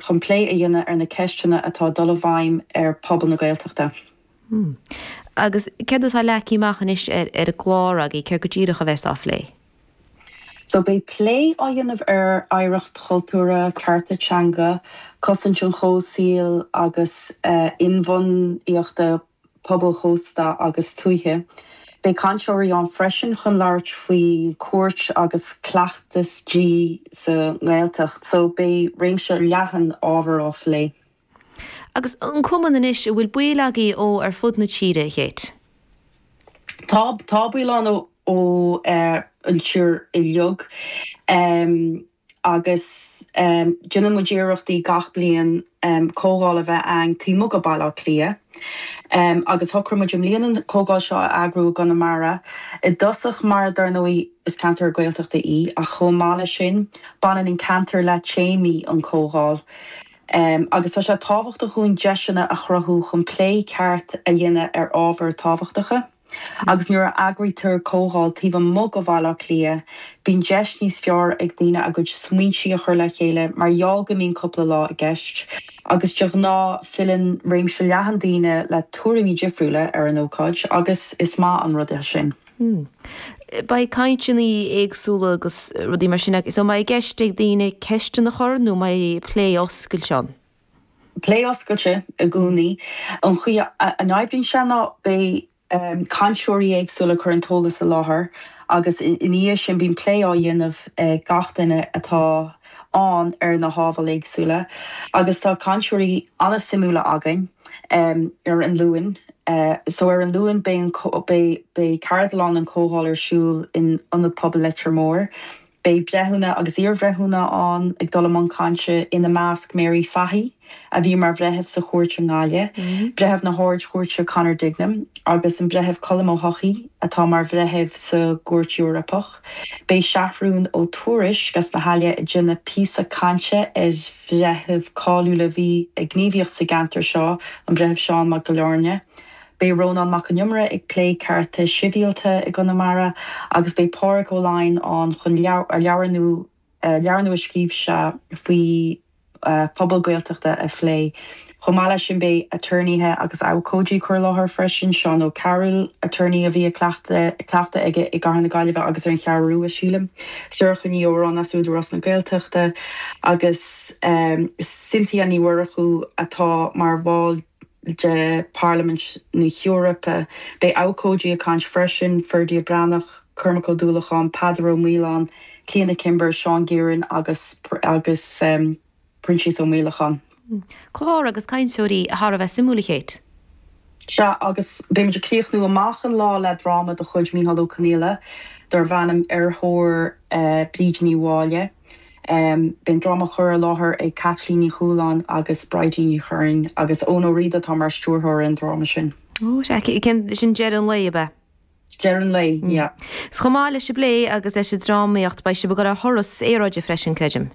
chun plé a dhéanamh ar na ceisteanna atá ag dul i bhfeidhm ar phobal na Gaeltachta. Agus céard atá leagtha amach anois ar an gclár agaibh, céard go díreach a bheas á phlé? So beidh plé á dhéanamh ar oidhreacht chultúrtha, cearta teanga, cosaint an chomhshaoil agus inbhuanaíochta pobail chósta agus tuaithe. Beidh cainteoirí ann freisin chun labhairt faoi chúirt agus cleachtas dlí sa nGaeltacht. So beidh réimse leathan ábhar á phlé. Agus an cumann anois, an bhfuil baill agaibh ó ar fud na tíre, a Kate? Tá, tá baill ann ó ó an tír uilig agus déanann muid iarrachtaí gach bliain comhdháil a bheith a'ainn taobh amuigh de Bhaile Átha Cliath agus shocraigh muid i mbliana an comhdháil seo a eagrú i gConamara i dtosach mar dar ndóigh is ceantar Gaeltachta í ach chomh maith leis sin baineann an ceantar le téamaí an comhdháil agus tá sé tábhachtach dhúinn deiseanna a chruthú chun plé ceart a dhéanamh ar ábhair tábhachtacha. Agus nuair a eagraítear comhdháil taobh amuigh de Bhaile Átha Cliath, bíonn deis níos fearr ag daoine a gcuid smaointí a chur le chéile mar gheall go mbíonn cúpla lá i gceist. Agus de ghnáth, filleann réimse leathan daoine le tuairimí difriúla ar an ócáid agus is maith an rud é sin. Beidh cainteanna éagsúla agus rudaí mar sin agus an mbeidh i gceist ag daoine ceisteanna a chur nó an mbeidh plé oscailte ann? Plé oscailte i gcónaí. An chaoi a n-oibríonn sé ná beidh cainteoirí éagsúla ag cur an t-eolas i láthair agus ina dhiaidh sin bíonn plé á dhéanamh ag gach duine atá ann ar na hábhair éagsúla agus tá cainteoirí an-suimiúla againn ar an Luan. So ar an Luan beidh an beidh ceardlann an comhdháil ar siúl in Ionad Pobail Leitir Móir. Beidh breithiúna agus iarbhreithiúna ann ag dul i mbun cainte, ina measc Mary Fahy, a bhí mar bhreitheamh sa chúirt i nGaillimh, Breitheamh na hArd-Chúirte Conor Dignam agus an Breitheamh Colm Ó hEochaidh atá mar bhreitheamh sa gCúirt Eorpach. Beidh Seathrún Ó Tuairisg as na hAille ag déanamh píosa cainte ar bhreitheamh cáiliúil a bhí ag gníomhaíocht sa gceantar seo, an Breitheamh Seán Mac Giolla Eirne. Beidh Rónán Mac Con Iomaire ag plé cearta sibhialta i gConamara agus beidh Pádraig Ó Laighin ann chun leabhar nua leabhar nua a scríobh sé faoi phobal Gaeltachta a phlé. Chomh maith leis sin beidh aturnaetha agus abhcóidí ag cur i láthair freisin, Seán Ó Cearúil, aturnae a bhí ag cleachtadh aige i gCathair na Gaillimhe agus ar an Cheathrú Rua, sílim, Sorcha Ní Odhráin as Údarás na Gaeltachta agus Cynthia Ní Mhurchú atá mar bhall de Pharlaimint na hEorpa. Beidh abhcóidí ag caint freisin, Ferdia Breathnach, Cormac Ó Dúlacháin, Peadar Ó Maoláin, Clíona Kimber, Seán Gearon agus agus Proinsias Ó Maolacháin. Clár agus cainteoirí thar a bheith suimiúil, a Kate. Sea, agus beimid ag críochnú amach an lá le dráma de chuid Mícheál Ó Conghaile darb ainm Ar Thóir Bríd Ní Mháille. Beidh an dráma á chur i láthair ag Caitlín Ní Chualáin agus Bridie Ní Churraoin agus Eoin Ó Riada atá mar stiúrthóir ar an dráma sin. Ó, sea, sin deireadh an lae, ab ea? Deireadh an lae, yeah. 'S chomh maith leis an bplé agus leis an drámaíocht, beidh sibh ag dul ar thuras aeráide freisin, creidim?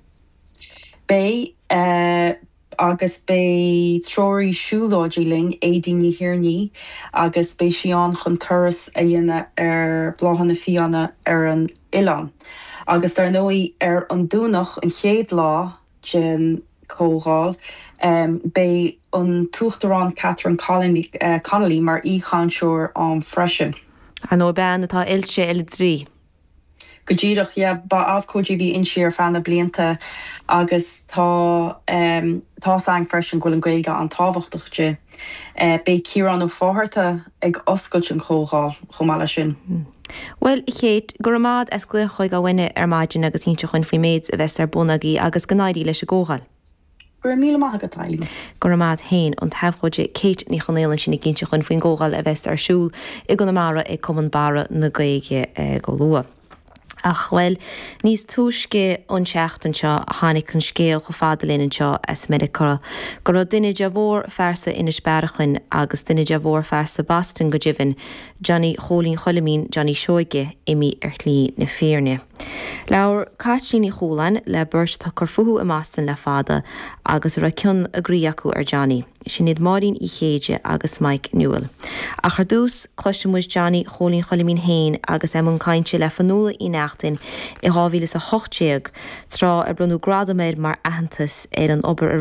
Beidh. Agus beidh treoraí siúlóidí linn, Aedín Ní Thiarnaigh, agus beidh sí ann chun turas a dhéanamh ar Bláthanna Fiáine ar an oileán. Agus dar ndóigh, ar an Domhnach, an chéad lá den chomhdháil, beidh an tUachtarán Catherine Connolly mar aoichainteoir ann freisin. Ar ndóigh, bean atá oilte ar an dlí. Go díreach, yeah. Ba abhcóide a bhí inti ar feadh na blianta agus tá tá's againn freisin go bhfuil an Ghaeilge an-tábhachtach di. Beidh Ciarán Ó Fátharta ag oscailt an chomhdháil chomh maith leis sin. Bhuel, a Kate, go raibh maith 'ad as glaoch chuig Awenne ar maidin agus inse dhuinn faoin méid a bheas ar bun agaibh agus go n-éirí leis an gcomhdháil. Go raibh míle maith agat, Eileen. Go raibh maith a't féin, an t-abhcóide Kate Ní Chonaola ansin ag inse dhuinn faoin gcomhdháil a bheas ar siúl i gConamara ag Cumann Barra na Gaeilge go luath. Ach, bhuel, níos túisce an tseachtain seo a tháinig an scéal chomh fada linn anseo as Meiriceá go raibh duine de mhórphearsa Inis Bearachain agus duine de mhórphearsa Boston go deimhin, Johnny Chóilín Choilimín Johnny Seoige, imithe ar shlí na fírinne. Labhair Caitlín Ní Chualáin le beirt atá ag cur fúthu i mBoston le fada agus a raibh cion a gcroí acu ar Johnny. Sin iad Máirín Uí Chéide agus Mike Newell. Ach ar dtús, cloisfidh muid Johnny Chóilín Choilimín féin agus é i mbun cainte le Fionnuala Uí Neachtain i 2018, tráth ar bronnadh gradam air mar aitheantas ar an obair a.